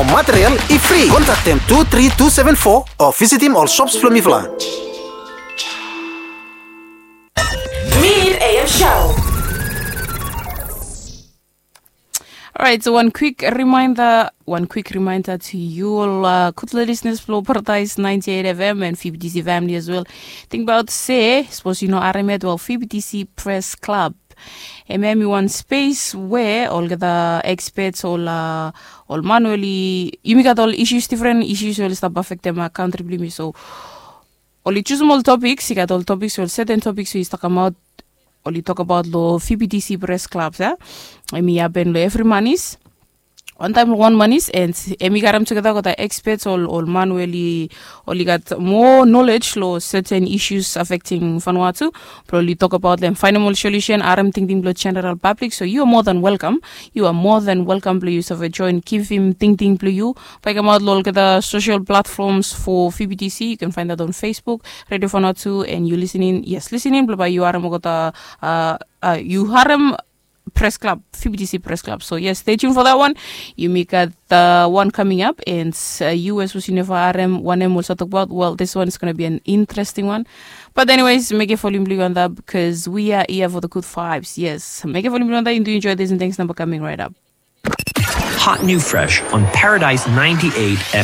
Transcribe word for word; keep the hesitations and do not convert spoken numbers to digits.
Material i fri. Kontaktem tu tri tu seven fo o visitim ol shops blong mifala. Mid A M Show. Alright, so one quick reminder, one quick reminder to you all, uh, gudfala listeners blong Paradise ninety-eight F M and F B T C family as well. Tingbaot se sapos yu no harem yet, wel, F B T C Press Club, hemia hemi wan spes we olgeta experts, ol, uh, ol man we oli, yumi gat ol issues, different issues we oli stap afektem, uh, kantri blong yumi. So oli jusum ol topics, i gat ol topics, ol certain topics we i stap kamaot, oli tokbaot long F B T C Press Clubs, a? Hemi hapen long evri manis, wantaem long wan manis, and hemi karem tugeta olgeta experts, ol, ol man we oli, oli gat moa knowledge long certain issues affecting Vanuatu, blong oli tokbaot dem, faenem ol solution, harem tingting blong general public. So you are more than welcome. You are more than welcome blong yu save join givim tingting blong yu bae i kamaot long olgeta social platforms for F B T C. You can find that on Facebook, Radio Vanuatu, and yu listening, yes, listening blong bae yu harem olgeta, uh, uh, yu harem Press Club, F B T C Press Club. So yes, stay tuned for that one. Yumi gat the one coming up, and, uh, yu we sapos yu neva harem wanem oli stap tokbaot, well, this one is gonna be an interesting one. But anyways, mekem volume blong yu antap, because we are here for the good vibes. Yes, mekem volume blong yu antap, and do enjoy this, and thanks number coming right up. Hot new fresh on Paradise ninety-eight